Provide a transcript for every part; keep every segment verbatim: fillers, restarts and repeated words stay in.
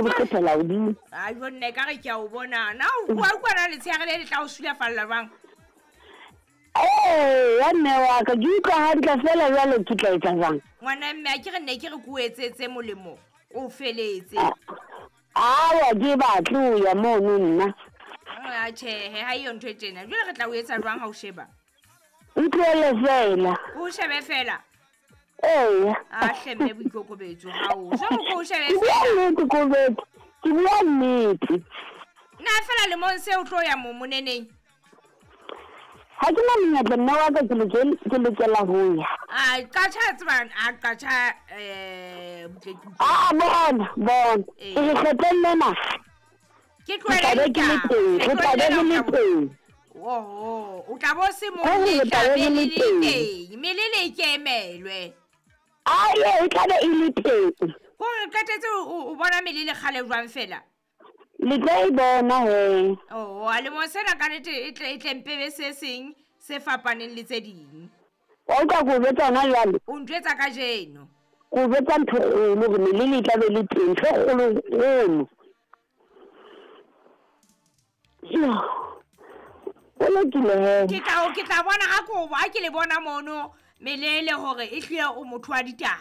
Ke bo kgethela hodimo. A jo nne ka re ke a o bona. Na o bua kwana letsheare le le tla o sulafalla jwang? Ee, ya mme wa ka ke utlwa hantle fela jwale ke tla etsa jwang? Ngwana mme a ke re nne ke re ke o etsetse molemo o feletse. Awa ke batle ho ya mono nna. A tjhehe ha eyo ntho e tjena. Jwale re tla o etsa jwang ha o sheba? Ntlohele fela. O shebe fela? Eya. A hle mme boikokobetso hao. So ko o shebe Ke bua fela. nnete Kobetso. Ke bua nnete. Na fela lemong se o tlo ya mo moneneng? Ha ke na monyetla mme wa ka ke loke- ke lokela ho ya. A qatjha tsebang a qatjha eh butle ke utlwe. Aa bona bona. Ee. Ke re kgetlong lena. Ke Ke tla tlohele be ke le ditaba. teng. Ke Re tla be tlohele re le ditaba. teng. Oho, o tla bo se mo Ho re le re tla tla be be re le le le teng. teng. Mme le le ikemelwe. Aye, e tla be e le teng. Hore qetetse o o bona mele le kgale jwang fela? Le tlo e bona he. Oh, a lemong sena ka nnete e tle e tle mpebe se seng se fapaneng le tse ding. Wa utlwa ke o jwetsa hona jwale? O ntjwetsa kajeno. Ke o jwetsa ntho e kgolo hore melele e tla be le teng. Ntho e kgolo-kgolo. Yo. O lokile he. Ke tla o ke tla bona ha ko ha ke le bona mono melele hore e hlile o motho wa ditaba.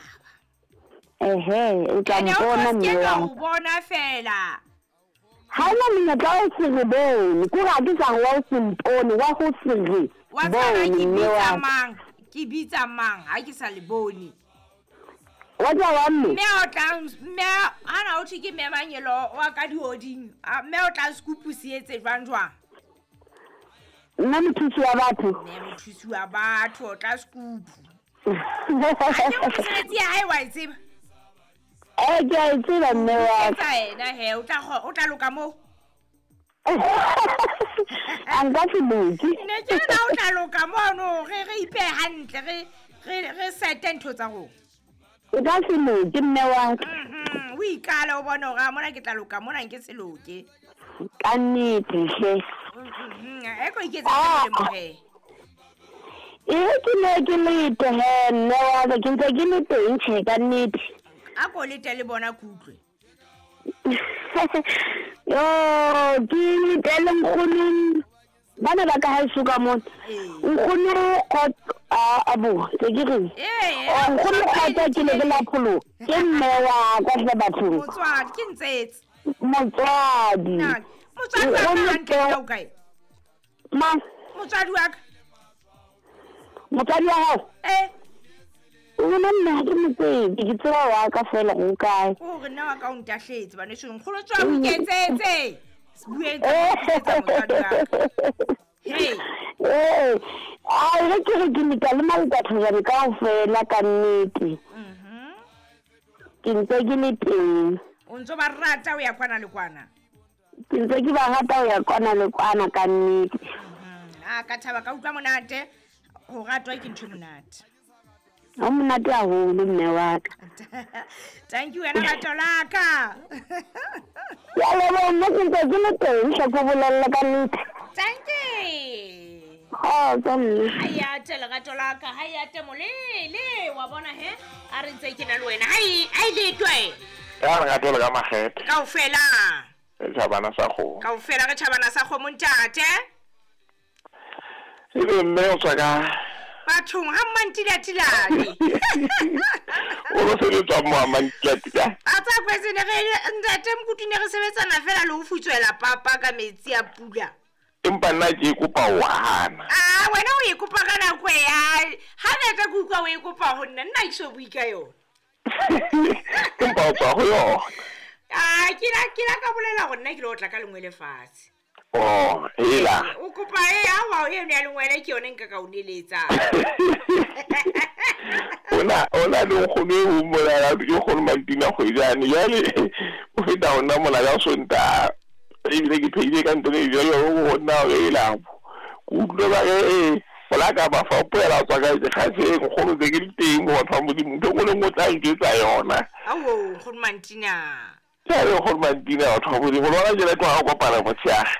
Ehe, o tla Ene o mpona tlo mme ske wa ka o bona fela. Ha ona monyetla wa ho se re bone. Ke hore ha ke sa re wa ho se mpone, wa ho se re Wa tseba bone ke mme bitsa wa ka. mang? Ke bitsa mang ha ke sa le bone? Wa tseba wa mme? Mme o tla mme ana o thwe ke mme Mangelo wa ka dihoding. A mme o tla scoop se etse jwang jwang? Nna mothusi wa batho. Mme mothusi wa batho o tla scoop. Ha ke mosebetsi ya hae wa e tseba? Eh, ke a e tseba mme wa ka. Etsa yena he, o tla o tla loka moo. A nka se loke. Ne ke re na o tla loka mono, re re ipehe hantle, re re re sete ntho tsa rona. O ka se loke mme wa ka. Mhm, o ikale o bone hore a mona ke tla loka, mona nke se loke. Ka nnete hle. Mhm, e ko iketsetse Ah. molemo he. E ke ne ke lete he mme wa ka, ke ntse ke le teng tjhe ka nnete. A ko lete le bona ke utlwe. Yo, ke lete le nkgono. Bana ba ka haeso ka mona. Ee. Nkgono Kgotso, a, a bo, se ke reng? Ee, Oh, nkgono o Kgotso ke le ke la pholoho. Ke mme wa ka hle bathong. Motswadi, ke ntsetse. Motswadi. Na, motswadi wa ka Nkgono hantle Kgotso. nna o kae? Mang? Motswadi wa ka. Motswadi wa hao? Eh. Nna nna ha ke mo tsebe, ke tseba wa ka fela go kae. O re nna wa ka o ntahletse baneso, nkgono tswa o iketsetse. Se bue ntse o iketsetsa motswadi wa ka. Hey. Eh, a re ke re ke leka le malekatho kaofela ka nnete. Mhm. Ke ntse ke le teng. O ntso ba rata ho ya kwana le kwana? Ke ntse ke ba rata ho ya kwana le kwana ka nnete. Mhm. A ka thaba ka utlwa monate, ho ratwa ke ntho e monate. Ho monate haholo mme wa ka. Thank you wena rato la ka. Ke a leboha mme ke ntse ke le teng hle ke o bolelle ka nnete. Thank you. Kgotso mme. Ha ya te lerato la ka, ha ya te molele, wa bona he? A re ntse ke na le wena. Hai, hai letwe. Ya lerato le ka makgethe. Kaofela. Re tjhabana sa kgomo. Kaofela re tjhabana sa kgomo ntate. Ebe mme o tswa ka Bathong ha mmantilatilane. O lo sebetsa mo ha mmantilatilane. A tsa kwetse ne re ntate Mokutu ne re sebetsana fela le ho futswela papa ka metsi a pula. Empa nna ke e kopa ho hana. Ah, wena o e kopa ka nako e ya. Ha nete ke utlwa o e kopa ho nna, nna ke so bue ka yona. Empa o tswa ho yona. Ah, ke la ke la ka bolela hore nna ke lo tla ka lengwe lefatshe. Oh, hela. O kopa e awa e yone ya lengwele ke yone nka ka o neletsa. Ona ona le nkgono e o mmolela ke nkgono Mantina Kgwejane. Jwale o feta ho nna mona ka Sontaha. Ebile ke phehile ka ntho e jwalo ho nna hore e la. Ke utlwe ba re, eh, polaka ba fa poela tswa ka dikgatseng, nkgono tse ke di teng mo batho ba Modimo. Ntho e nngwe le nngwe o tla njwetsa yona. Ao, nkgono Mantina. Ke re nkgono Mantina batho ba Modimo. Lona jwale tloha ho kopana motshehare.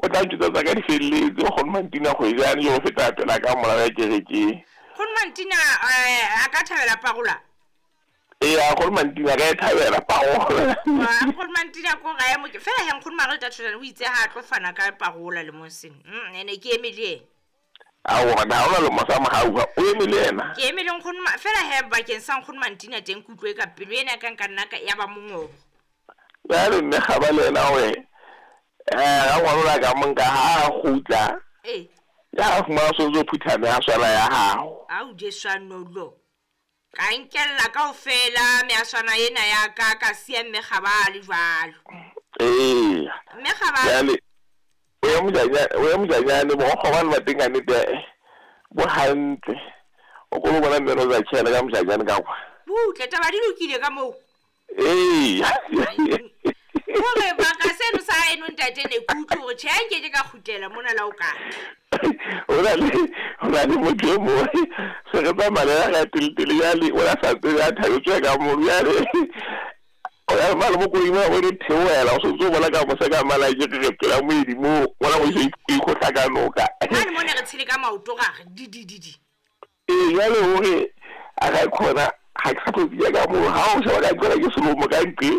O tla njwetsa tsa ka di felletse, nkgono Mantina Kgwejane yo feta pela ka mola ya kerekeng. Nkgono Mantina, eh, a ka thabela parola? Ee, nkgono Mantina ka e thabela parola. Nkgono Mantina ko gae mo ke fela he nkgono Margaret Thojane o itse ha tlo fana ka parola le moseng. Mm ene ke eme le yena. Aowa na ona le mosa mohau o eme le yena. Ke eme le nkgono fela he bakeng sa nkgono Mantina teng ke utlwe ka pelo ena ka nka nna ka ya ba mongobo. Jwale mme Kgaba le yena hore eh ga ngwana ka monka ha kgutla. Eh. Ya fumana so tso phuthana ya swala ya hao. Au Jesu nolo. Ka nkella kaofela me a swana ena ya ka ka siya mme Kgaba le jwalo. Eh. Mme Kgaba. Jwale o ya mojanya o ya mojanya bo kgobane ba teng ka nnete bo hantle. O kolo bona mme no za tshela ka mojanyane ka kwa. Butle taba di lokile ka moo. Eh. Hore ba ka seno sa eno ntate ne kutlwe hore tjhe nke ke ka kgutlela mona la o ka. O na le o na le motho e mongwe se re tsamaya le ga teletele jale o la sa tsebe a thabetswe ka mo jale o ya mala mo koloing mo o theohela o sentse o bona ka mose ka mala ke re pela moedi moo bona o iso ikgohla ka noka. Mane mo ne re tshele ka maoto ga re di di di di. Ee jale hore a ka khona ha ke sa tlo bia ka moo ha o sheba ka nqela ke selomo ka nqe.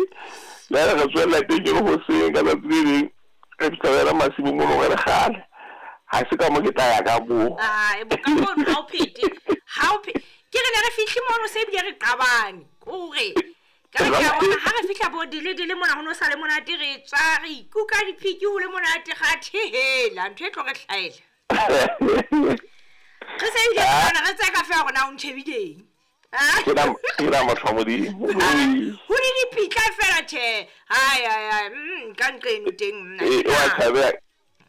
Jale re tswella teng ke le hoseng ka tsatsi le leng re fitlhela masimong mo re kgale. Ha se ka mo ke tla ya ka moo. Ah, e bo ka mono ha o phete. Ha o phete. Ke re ne re fihle mono se ebile re qabane. Kore ka re ka bona ha re fihla bo dile dile mona ho no sa le monate re tswa re ikuka diphiki ho le monate ga thehela ntho e tlo re hlaela. Re se ebile bona re tseka fela rona o ntjhebileng. Ke la ke la motho wa Modimo. Ho le dipitla fela tjhe. Hai hai hai mm ka nqeno teng nna. Eh wa thabela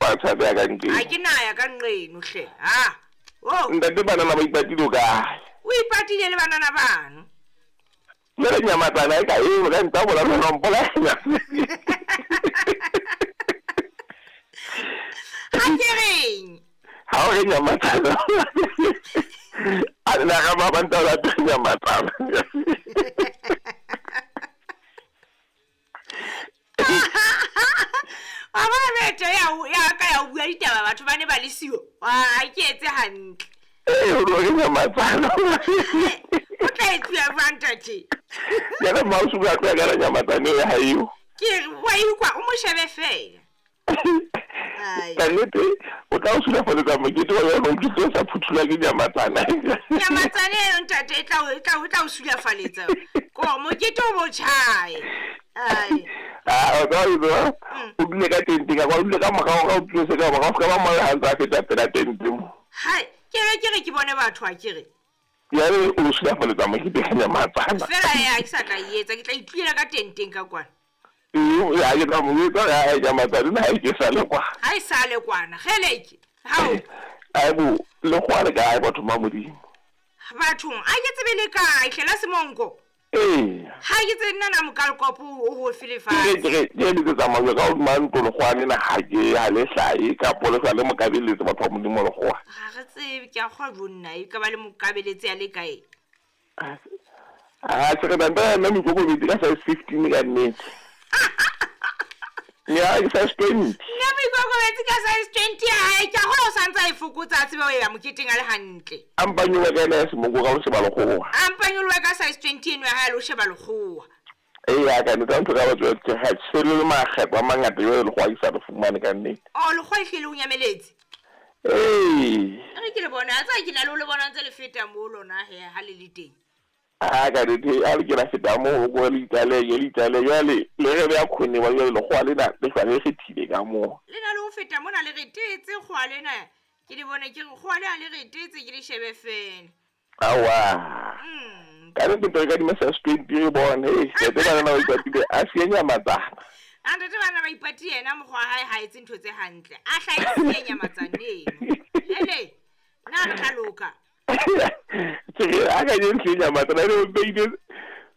wa thabela ka nqeno. Ha ke na ya ka nqeno hle. Ha. Oh. Ntate banana ba ipatile o kae? O ipatile le banana bano. Mme re nyamatsana e ka eo ka nta bola lona mpolaya. Ha ke reng? Ha o re nyamatsana. A nna ga ba banta la nyamatsana. Wa bona bethe ya ya ka ya bua ditaba batho ba ne ba le siyo. Wa ke etse hantle. Eh o re nyamatsana. O tla etsuwa jwang ntate? Ya re mausu ka tla ka nyamatsana ya hayo. Ke re wa ikwa o mo shebe fela. Ai. Ka nnete o tla o sulafaletsa mokete wa yona o ntse sa phuthula ke nyamatsana. Nyamatsana eno ntate e tla o tla o tla o sulafaletsa. Ko mokete o botjhae. Ai. Ah, o tla o o dule ka tente ka kwa o dule ka morao ka o tlose ka morao ka ba moya ha ntse a feta pela tente mo. Hai, ke be ke re ke bone batho a ke re. Jwale o sulafaletsa mokete ka nyamatsana. Fela ya ke sa tla etsa ke tla itluela ka tenteng ka kwana. Ee, ya ke tla mo etsa ya nyamatsana ha ke sa le kwa. Ha e sa le kwana, kgeleke. Hao. Ai bo, le kwa le kae batho ba Modimo? Bathong, a ke tsebe le kae hlela semonko. Ee. Ha ke tsebe nna na mokalkopo o ho felefatshe. Ke ke ke le tsamaya ka o mantlo le kgwane na ha ke ha le hlae ka pole sa le mokabeletse batho ba Modimo le kgwa. Ha re tsebe ke a kgwa bonna e ka ba le mokabeletse ya le kae. Ah, se re banta nna mokokobetse ka size fifteen ka nnete. Ya ke size twenty. Nna mokokobetse ka size twenty ha ke a kgwa o santsa e fokotsa tsebe o ya moketeng a le hantle. A mpanyolwa ka ena ya semonko ka o sheba lekgowa. A mpanyolwa ka size twenty eno ya hae le o sheba lekgowa. Ee ya ka nnete ntho ka batho ke ha tshele le makgetho a mangata jwale lekgowa ke sa le fumane ka nnete. Oh lekgowa e hlile o nyameletse. Ee. Re ke le bona a tsa ke na le o le bona ntse le feta mo lona he ha le le teng. Ah ka nnete a le ke la feta mo go le itale le itale jwale le re be a khone wa jwale lekgowa lena le hlwa le kgethile ka mo. Le na le ho feta mona le re tetse kgowa lena. Ke le bone ke re kgowa le ha le re tetse ke le shebe fela. Awa. Mm. Ka nnete ka di size twenty re bone he ntate bana ba ipatile a siya nyamatsana. A ntate bana ba ipatile yena mokgwa hae ha etse ntho tse hantle. A hlae siya nyamatsana eno. Hele nna re tla loka. Ke re a ka je ntle nyamatsana e beile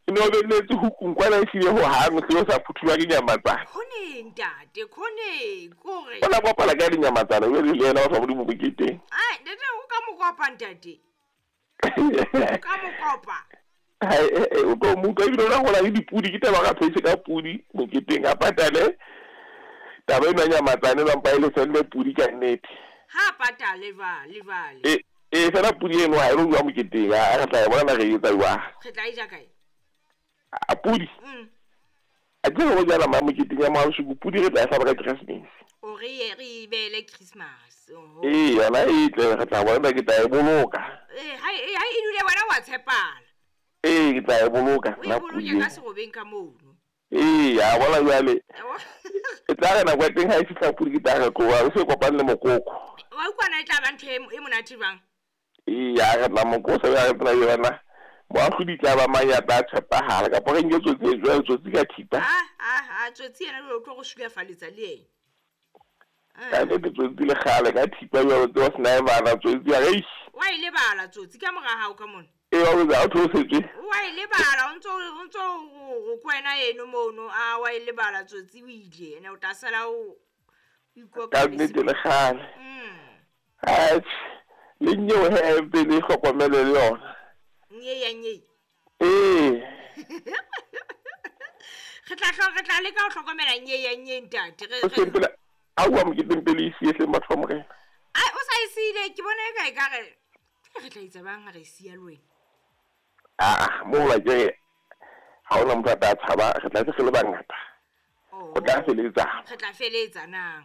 no beletse hukung kwana e hlile ho hang o hlile sa phuthulwa ke nyamatsana. Khone ntate khone kore. Ona bapala ka dinyamatsana o le yena wa Modimo moketeng. Ai ntate o ka mokopa ntate. O ka mokopa. Hai o tlo mo utlwa ebile o la gola le dipudi ke taba ka phetse ka pudi moketeng a patale. Taba ena nyamatsana ba mpa ile sende pudi ka nnete. Ha patale va le vale. E e fela pudi eno ha e lo bua moketeng a re tla e bona re etsa jwang. Re tla e ja kae? A pudi. Mm. A ke re go jala ma moketeng ya maosiko pudi re tla e hlaba ka Keresemese. O re ye re e beele Christmas. Oho. Ee, yona e tle re tla bona ke tla e boloka. Eh, ha e ha e dule wena wa tshepala. Ee, ke tla e boloka O e nna boloke pudi. ka serobeng ka mono. Ee, a bona jwale. Yabo. E tla re nako ya teng ha e fihla pudi ke tla re tloha re se kopane le mokoko. Wa utlwa na e tla ba ntho e e monate jwang? Ee, a re tla mokosa ya re tla yona. Moahlodi tla ba mang ya tla tshepahala kapa re nke tsotsi e jwale tsotsi ka thipa. Ah ah ah tsotsi yena o tlo go sulafaletsa le ena. Ka nnete tsotsi le kgale ka thipa jwalo tseo se na e bala tsotsi ya re eish. Wa e lebala tsotsi ka mora hao ka mona. Ee, wa botsa, ha o theosetswe. Wa e lebala o ntso o ntso o kwena eno mono a wa e lebala tsotsi o ile ene o tla sala o ikoka Ka nnete le kgale. Mm. Atjhe, le nyewe he pele e hlokomele le yona. Nye ya nye. Ee. Re tla hlo re tla leka ho hlokomela nye ya nye ntate. Re O re sempela a bua moketeng pele e siye hleng batho ba morena. Ai o sa e siile ke bona e ka e ka re re tla etsa bang ha re e siya le wena. Ah, mo la ke re ha hona motho a tla tshaba re tla se re le bangata. Oh. O tla feletsa. Re tla feletsa na.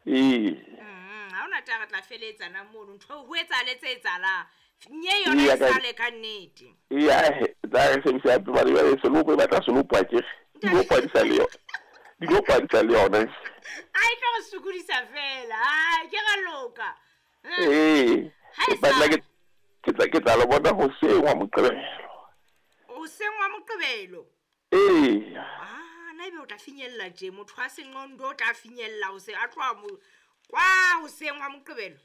Ee. Mm, ha hona taba re tla feletsa na mono ntho ho etsahale tse etsahalang. Nye yona Ee, e ka- sale ka nnete. Ee, ahe, tla re sebedisa hape hobane jwale selopo e batla selopo akere. Dilopo ha di sa le yona. Dilopo ha di sa le yona. A e tlo re sokodisa fela. Ai ke ra loka. Eh, Ee. Ha e Ke batla sa- ke ke tla ke tla le bona hoseng wa Moqebelo. Hoseng wa Moqebelo. Ee. Ah, na ebe o tla finyella tje motho wa senqondo o tla finyella hoseng a tloha mo kwa hoseng wa Moqebelo.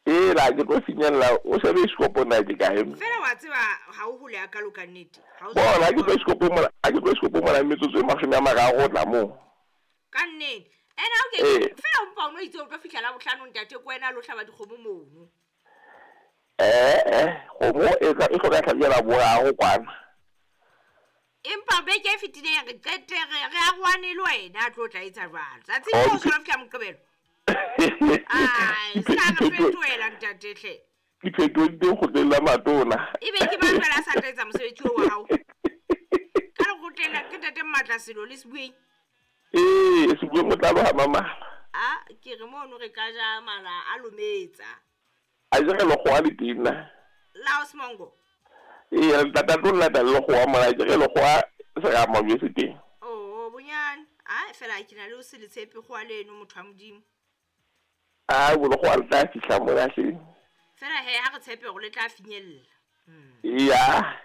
Ee, la ke tlo finyella o shebe iskopo na ke kae. Fela wa tseba ha o hole hakalo ka nnete. Ha o Bona ha ke tlo iskopo mona, ha ke tlo iskopo mona metsotso e mashome a mararo ho tla moo. Ka nnete. Ene ha o ke Ee. fela o mpa o no itse o tlo fihla la bohlano ntate ko wena lo hlaba dikgomo mono. Eh eh, kgomo e tla e hloka tlhabi ya laboraro kwana. Empa beke e fetileng re qete re re arohane le wena a tlo tla etsa jwalo. Tsatsing Oh, leo o so lo fihla Moqebelo. Ai, se ka re fetohela ntate hle. Diphetoho di teng kgotleng la matona. Ebe ke mang jwale a sa tla etsa mosebetsi oo wa hao? Ka lekgotleng la ke ntate Mmatla Selo le Sebueng. Ee, Sebueng o tla loha mamala. Ah, ke re mono re ka ja mala a lometsa. A jere lekgowa le teng na. La Osmongo. Ee, re tla tlo lata le lekgowa mona, a jere lekgowa serama jwe se teng. Oh, bonyane. Ai, fela ke na le o se le tshepe kgowa leno motho wa Modimo. Ah, bo lekgowa le tla fihla mona hleng. Fela he ha re tshepe hore le tla finyella. Eya.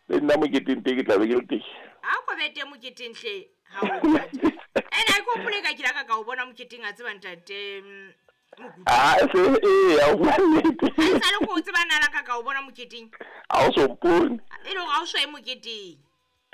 Le nna moketeng teng ke tla be ke le teng. Ha o ko be teng moketeng hle ha o ntate. Ene ha ke hopole ka ke la ka ka o bona moketeng a tseba ntate mm, Mokutu. Ah, se ee, ha o bua nnete. Ha e sale ko o tseba nna la ka ka o bona moketeng. Ha o so mpone. E le hore ha o so ye moketeng.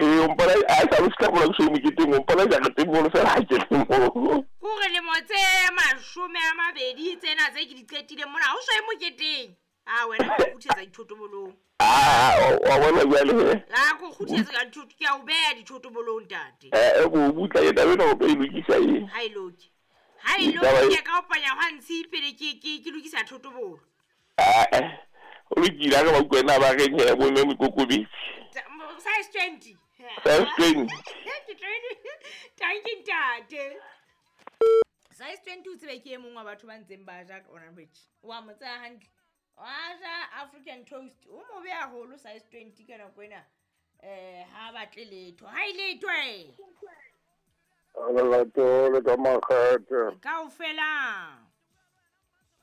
Ee, o mpona a sa o fihla mona ke so ye moketeng, o mpona jareteng mono fela ha ke le moo. Kore lemo tse mashome a mabedi tsena tse ke di qetileng mona ha o so ye moketeng. Ah, wena ke o kgutlisetsa dithotobolong. Ah, wa bona jwale he. Ah, ke o kgutlisetsa ka dithoto, ke a o beha dithotobolong ntate. Eh, ko butla ke taba ena o tlo e lokisa e. Ha e loke. Ha e Taba loke e- ke ka o panya hwa ntshi pele ke ke ke lokisa thotobolo. Ah, eh. O lokile ha re ba utlwe na ba reng he bo mme Mokokobetsi. Ta- mo- Size twenty. Size twenty. Ke twenty. Thank you ntate. Size twenty o tsebe ke e mong wa batho ba ntseng ba ja ka ona bridge. Wa mo tsaya hantle. Wa ja African toast. O mobe haholo size twenty ka nako ena. Eh ha batle letho. Ha e letho eh. Lerato le ka makgethe. Kaofela.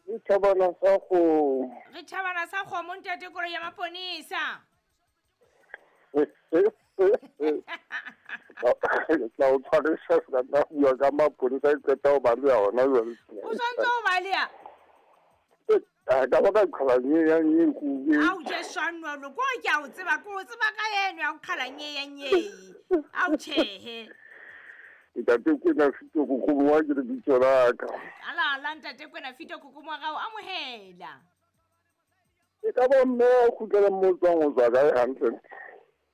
Ke thabana sa kgomo. Re thabana sa kgomo ntate koloi ya maponesa. Ke tla o tshwarisa se ka nna bua ka maponesa ke qeta ho baleha hona jwale. O santse o baleha? Ah, ka ba ka qhala nye ya nye kube. Ao Jesu a nwa ko ke a o tseba ko o tseba ka eno ya o qhala nye ya nye. Ao tjhehe. Ntate Kwena Fito Kokomo wa ke lebitso la ka. Ala ala ntate Kwena Fito Kokomo wa gago amohela. E ka ba mme o kgutlela mo o tswang o tswa kae hantle?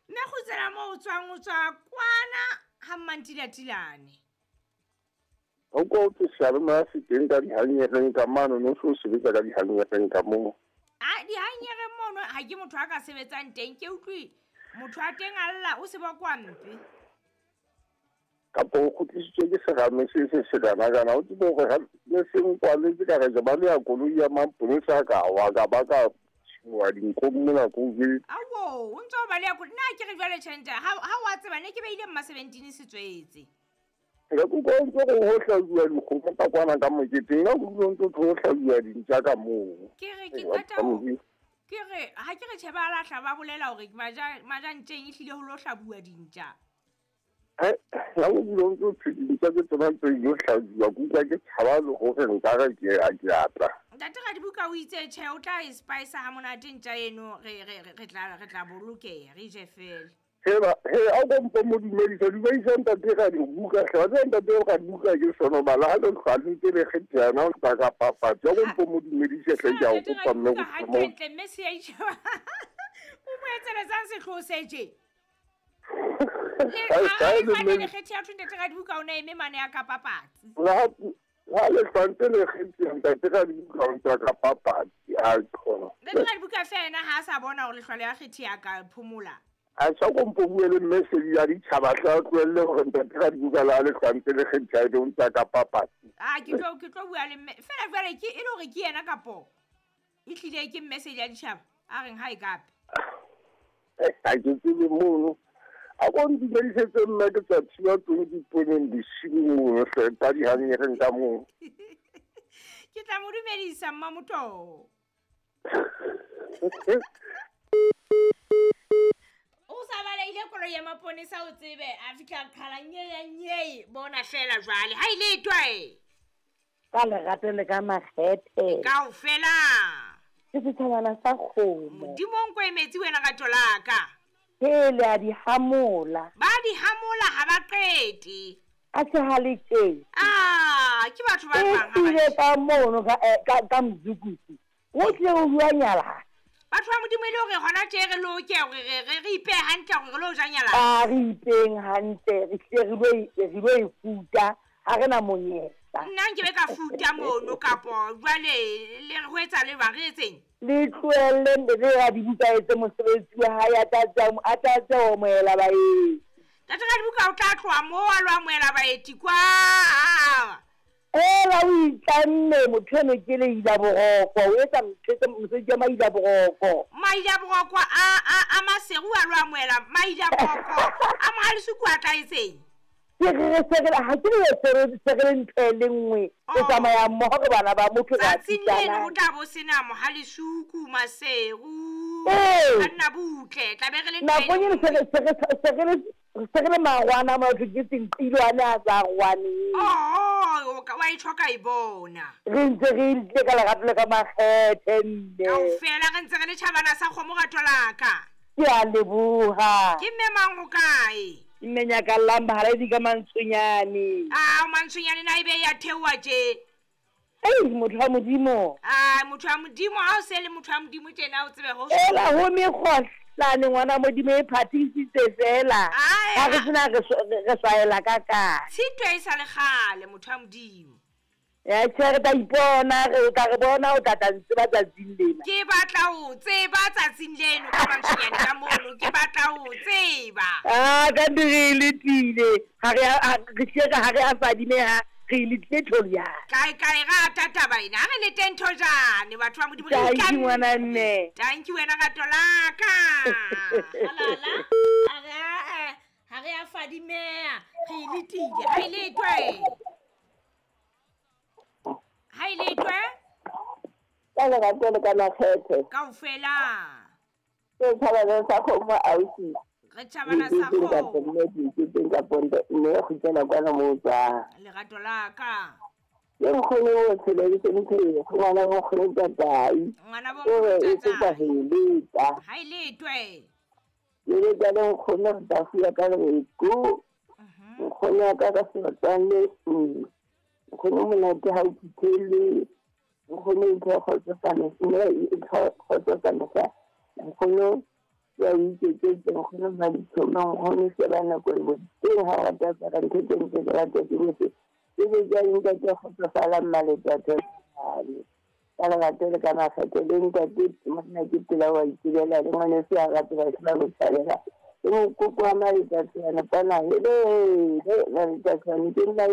Mme kgutlela mo o tswang o tswa kwana ha Mmantilatilane. O ko o seyalemoya se teng ka dihanyereng ka mane, no se o sebetsa ka dihanyereng ka moo. A dihanyereng mono ha ke motho a ka sebetsang teng ke utlwe. Motho a teng a lla o se ba kwa mpe. Kapa o kgutlisitswe ke serame se se sekana-kana o tsebe hore ha ne se nkwaletse ka re ke ba le ya koloi ya maponesa ka wa ka ba ka tshimoha dinkong mona ko ke Awo, o ntse o baleha koloi. Nna ke re jwale tjhente ha ha wa tseba ne ke beile mma seventeen se tswetse. Ka kutlwa o ntse go ho hlajuwa dikgomo ka kwana ka moketeng ka kutlwa o ntse ho hlajuwa dintja ka moo. Ke re ke qeta ho ke re ha ke re tjhe ba lahla ba bolela hore maja majantjeng e hlile ho lo hlabuwa dintja. Eh, ha o bula o ntse o phedisa ke tsona tse ilo hlajuwa ke utlwa ke tshaba le hore nka re ke a ke a tla. Ntate Radibuka o itse tjhe o tla e spice ha monate ntja eno re re re tla re tla bolokeha re je fela. He ba he a go mpo mo dumedisa dumedisa ntate Radibuka hle wa tseba ntate Radibuka ke sono bala ha le hlwantse le kgethana o tla ka papatsi a go mpo mo dumedise hle ke a o kopa mme go hantle mme se ya itjheba. O mo etseletsang sehloho se tje. Le a le kgethe ya ntate Radibuka o na eme mane ya ka papatsi. La ha le hlwantse le kgethe ntate Radibuka o ntse ka papatsi a khona. Ntate Radibuka fela ha a sa bona hore lehlwale ya kgethe ya ka phomola. A sa go mpo bue le message ya ditjhaba tla tlohelle hore ntate Radibuka la le hlwantse le kgethe ya o ntse ka papatsi. Ah ke tlo ke tlo bua le mme fela jwale ke e le hore ke yena kapo e hlile ke message ya ditjhaba a reng ha e kape. Eh ha ke tsebe mono. A go ntumedisetse mme ke tsa thiba teng diponeng bosiu mono hle ka dihanyereng ka moo. Ke tla mo dumedisa Mmamoto. O sa baleile koloi ya maponesa o tsebe a fihla qhala nye nye bona fela jwale ha ile twe. Ka lerato le ka makgethe. Kaofela. Ke setjhabana sa kgomo. Modimo o nko emetse wena rato la ka. Hele a di hamola. Ba di hamola ha ba qete. A se ha le teng. Ah, ke batho ba bang ha ba. Ile ka mono ka ka ka mzukusi. O tle o bua nyala. Batho ba Modimo ile hore hona tje re loke hore re re re ipe hantle hore re lo ja nyala. A re ipeng hantle re tle re lo re lo e futa ha re na monyetla. Nna nke be ka futa mono kapo jwale le re ho etsa le ba re etseng. Le tlohelle le Radibuka etse mosebetsi wa hae a tla tsa a tla tsa o amohela baeti. Ntate Radibuka o tla tloha moo a lo amohela baeti kwa. Ela o itlamme motho eno ke le ila boroko o etsa mosebetsi wa maila boroko. Maila boroko a a a Maseru a lo amohela maila boroko a Mohalisuku a tla etseng. Ke re se re ha ke le se re se re ntho e le nngwe e tsamaya mmoho re bana ba motho ra tsatsing leno ho tla bo sena Mohalisuku Maseru Ee. a nna butle tla be re le ntho e Nakong le eno se nngwe. re se re se re le se re le marwana motho ke senqilwane a sa rwaneng. Oh, o ka wa e tlhoka e bona. Re ntse re ile ka lerato le ka makgethe mme. Kaofela re ntse re le tjhabana sa kgomo rato la ka. Ke a leboha. Ke mme mang ho kae? Mme Nyakallang Bahaladi ka Mantshonyane. Ah, Mantshonyane na ebe ya theoha tje. Ei, motho wa Modimo. Ah, motho wa Modimo ha o se le motho wa Modimo tjena o tsebe ho. Ela ho mekgohlane ngwana Modimo e phathisitse fela. Ai, Ha re sena re re swaela ka kae. Tshitwe e sa le kgale motho wa Modimo. Ya tjhe re tla ipona re tla re bona o tla tla ntseba tsatsing lena. Ke batla ho tseba tsatsing leno ka Mantshonyane ka mono ke batla ho tseba. Ah, ka ntle re letile. Ha re a re hle ha re a fadimeha re letile tholiana. Kae kae rata taba ena ha re le teng thojane batho ba Modimo re Thank you itlamme. ngwana mme. Thank you wena rato la ka. Halala. Ha re a ha re a fadimeha re letile ha e letwe. Ha e letwe Ka lerato le ka makgethe. kaofela. Ke tjhabana sa kgomo ausi. Re tjhabana sa kgomo. Mme ke teng ka ponto mme go tsena kwana mo tswa. Lerato la ka. Ke nkgono o tshele ke ntho e ngwana wa nkgono tatai. Ngwana bo O re e nkgono kopa tatai. ho e leta. Ha e letwe. Ke leta le nkgono re tla fuya ka lereko. Mhm. Nkgono wa ka ka sebatsane. Nkgono monate ha o phuthelwe. Nkgono o ntho kgotsofala mme e kgotsofala sa. Nkgono ya o iketsetse nkgono Maditshomo nkgono sheba nako e bo teng ha o rata apara ntho tse ntle ke rata ke botse. Ke be jwale ntate a kgotsofalang Maletatso ka lerato le ka makgethe le ntate monna ke pela wa itsebela le ngwaneso a rate ba se ba mo tshabela. Ke mokoko wa maletsatsana kwana, hele maletsatsane ke nna eo.